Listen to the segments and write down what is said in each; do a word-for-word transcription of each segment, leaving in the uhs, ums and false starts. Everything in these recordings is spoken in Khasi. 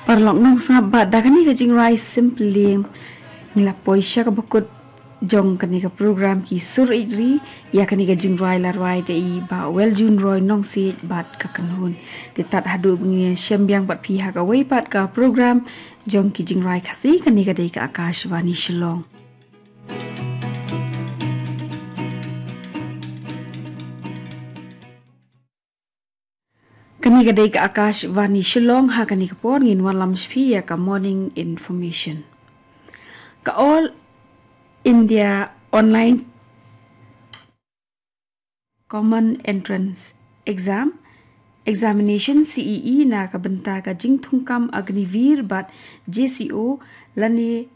Paralok nongsngap, bad da kane ka jingrwai Simply ngi la poi sha kaba kut jong kane ka program Ki Sur Ri. Ïa kane ka jingrwai la rwai da i Bah Weljun Roy Nongsiej bad ka kynhun. Te tad haduh ba ngin ïashem biang bad phi ha kawei pat ka program jong ki jingrwai Khasi, kane ka dei ka Akashvani Shillong. Kane ka dei ka Akashvani Shillong, ha kane ka por ngin wanlam sha phi ïa ka morning information. Ka All India Online Common Entrance Exam, Examination, C E E, na ka bynta ka jingthungkam Agniveer bad J C O lane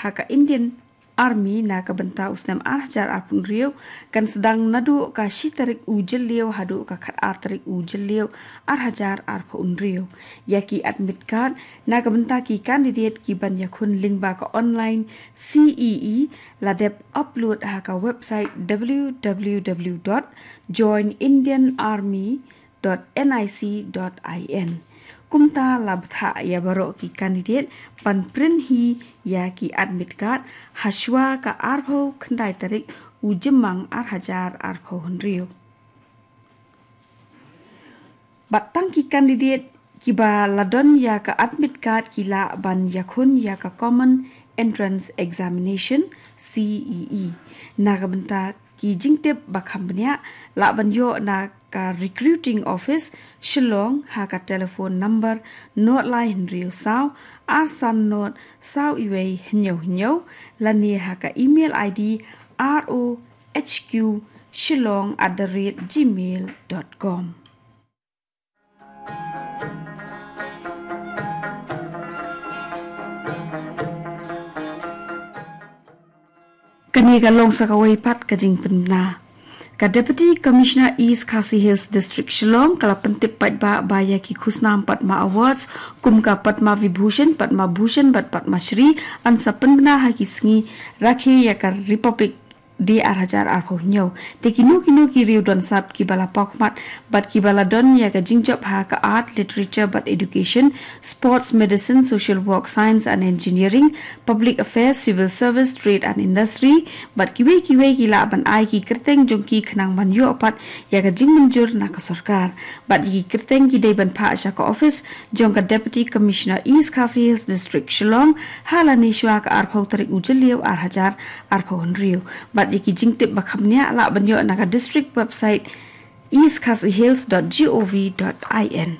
ha ka Indian Army na ka bynta u snem ar hajar arphew hynriew kan sdang naduh ka shi tarik u Jylliew haduh ka khatar tarik u Jylliew ar hajar arphew hynriew. Ïa ki admit card na ka bynta ki candidate ki ban ïakhun lyngba ka online C E E la dep upload ha ka website w w w dot join indian army dot nic dot in. Kumta la bthah ïa baroh ki candidate ban print hi ïa ki admit card hashwa ka arphew khyndai tarik u Jymmang ar hajar arphew hynriew. Bad tang ki candidate kiba la don ïa ka admit card ki lah ban ïakhun ïa ka Common Entrance Examination, C E E. Na ka bynta ki jingtip ba kham bniah, lah ban ïoh na ka Recruiting Office, Shillong, ha ka telephone number nod lai hynriew saw ar san nod saw iwei hynñiew hynñiew, lane ha ka email I D R O H Q shillong at the rate gmail dot com. Kane ka long sa kawei pat ka jingpynbna. Ka Deputy Commissioner East Khasi Hills District Shillong ka la pyntip paidbah ba ïa ki khusnam Padma Awards kum ka Padma Vibhushan, Padma Bhushan bad Padma Shri yn sa pynbna ha ki sngi rakhe ïa ka Republic Day ar hajar arphew hynñiew. Te kino kino ki riew don sap kiba la pawkhmat bad kiba la don ïa ka jingjop ha ka art, literature bad education, sports, medicine, social work, science and engineering, public affairs, civil service, trade and industry, bad kiwei kiwei ki lah ban ai ki kyrteng jong ki khnang ban ïoh pat ïa ka jingmynjur na ka sorkar. Bad ïa ki kyrteng ki dei ban phah sha ka office jong ka Deputy Commissioner East Khasi Hills District Shillong ha lane shwa ka arphew tarik u Jylliew ar hajar arphew hynriew. Bad ïa ki jingtip ba kham bniah lah ban ïoh na ka district website east khasi hills dot gov dot in.